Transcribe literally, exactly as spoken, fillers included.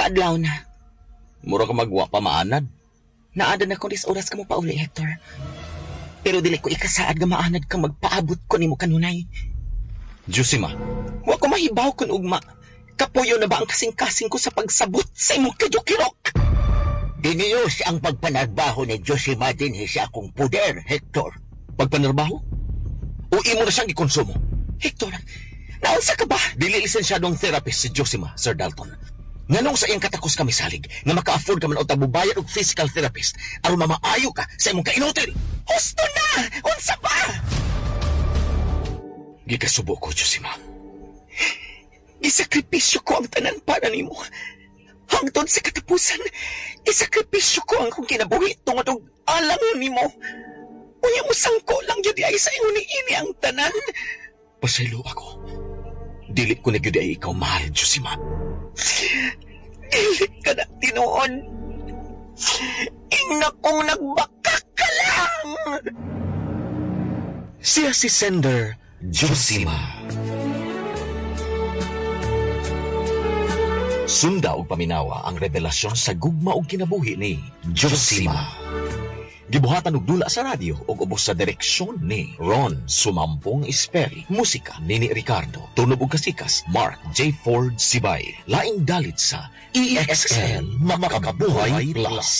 Kaadlaw na. Mura ka magwa pa maanad. Naanad na ko dis oras ka mo pauli, Hector. Pero dili ko ikasaad nga maanad ka magpaabot ko nimo kanunay. Josima, Wa ko mahibaw kun ugma. Kapuyo na ba ang kasing-kasing ko sa pagsabot sa imong kajukirok? Diniyos ang pagpanarbaho ni Josima dinhi sa akong puder, Hector. Pagpanarbaho? O imo na siyang gikonsumo? Hector, naunsa ka ba? Dili lisensyadong therapist si Josima, Sir Dalton. Nganong sa iyang katakos kami salig nga maka-afford ka man og tabubayad og physical therapist aron mamaayo ka sa imong kainutil. Husto na! Unsa ba? Gikasubo ko, Josima. Gisakripisyo ko ang tanan para nimo. Hangtod sa katapusan, gisakripisyo ko ang akong kinabuhi tungod og alang nimo. Unya mo sangko lang gyud ay sa ingon niini ang tanan. Pasaylo ako. Dili ko na gyud ay ikaw mahal, Josima. Dili ka na tinuod. Ingna kong nagbaka ka lang. Siya si Sender Josima. Sunda og paminawa ang revelasyon sa gugma og kinabuhi ni Josima. Gibuhatan og dula sa radyo ug ubos sa direksyon ni Ron Sumampong Esperi. Musika Nini Ricardo. Tunob og kasikas Mark J. Ford Sibay. Laing dalit sa E X L Makabuhay Plus.